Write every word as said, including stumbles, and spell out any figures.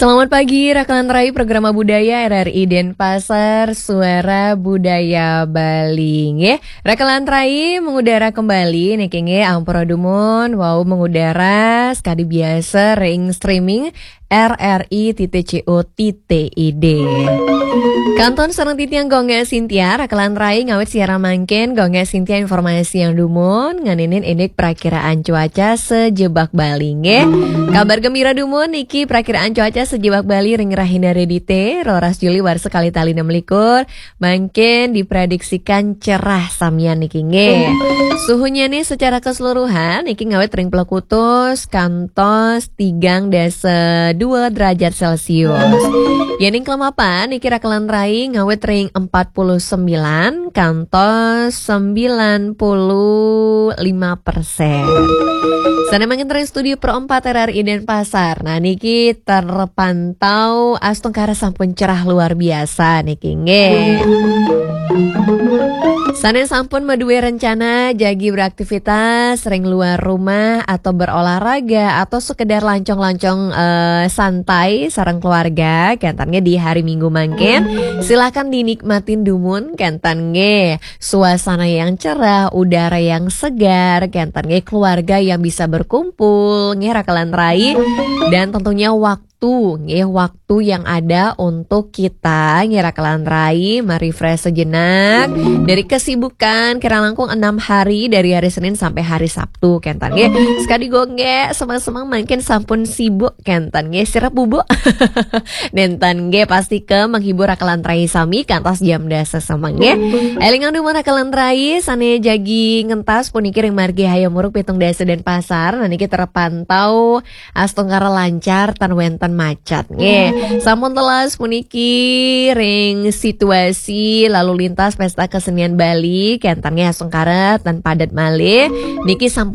Selamat pagi, Rakelan Rai, Programa Budaya R R I Denpasar, Suara Budaya Bali. Nggih, Rakelan Rai mengudara kembali niki nggih, ampura dumun wau mengudara sekadi biasa ring streaming R R I titik C O titik I D. Kantun sareng titiang Gung Gek Sintia, Rakelan Rai ngawit siaran mangkin, Gung Gek Sintia informasiang dumun ngeninin indik prakiraan cuaca sajebag Bali nggih. Kabar gembira dumun niki prakiraan cuaca sajebag Bali ring rahina Redite, roras Juli warsa kalih tali enam likur, mangkin diprediksikan cerah samian niki nggih. Suhunya nih secara keseluruhan niki ngawit ring plekutus kantos tigang dasa dua derajat Celcius. Yening kelemapan niki Rakelan Rai ngawit ring empat puluh sembilan kantos sembilan puluh lima persen. Sane mangkin ring studio Pro empat R R I Denpasar. Nah, niki terpantau astungkara sampun cerah luar biasa niki nggih. Sane sampun madue rencana jagi beraktivitas ring luar rumah atau berolahraga atau sekedar lancong-lancong, eh, santai sareng keluarga, kenten nggih di hari Minggu mangkin, silakan dinikmatin dumun, kenten nggih. Suasana yang cerah, udara yang segar, kenten nggih, keluarga yang bisa berkumpul, nggih Rakelan Rai, dan tentunya waktu nggih, waktu yang ada untuk kita nggih Rakelan Rai merefresh sejenak dari kesibukan kira langkung enam hari, dari hari Senin sampai hari Sabtu, kenten nggih. Sekadi Gung Gek semeng-semeng mangkin sampun sibuk, kenten nggih, sirep bubuk. Nenten nggih, pasti ke menghibur Rakelan Rai sami kantos jam dasa semeng nggih. Elingang dumun Rakelan Rai sane jagi ngentas puniki ring margi Hayam Wuruk pitung dasa Denpasar, nah niki terpantau astungkara lancar tan wenten macet nggih. Sampun telas puniki ring situasi lalu lintas Pesta Kesenian Bali, kenten nggih, astungkara tan padet malih. Niki sampun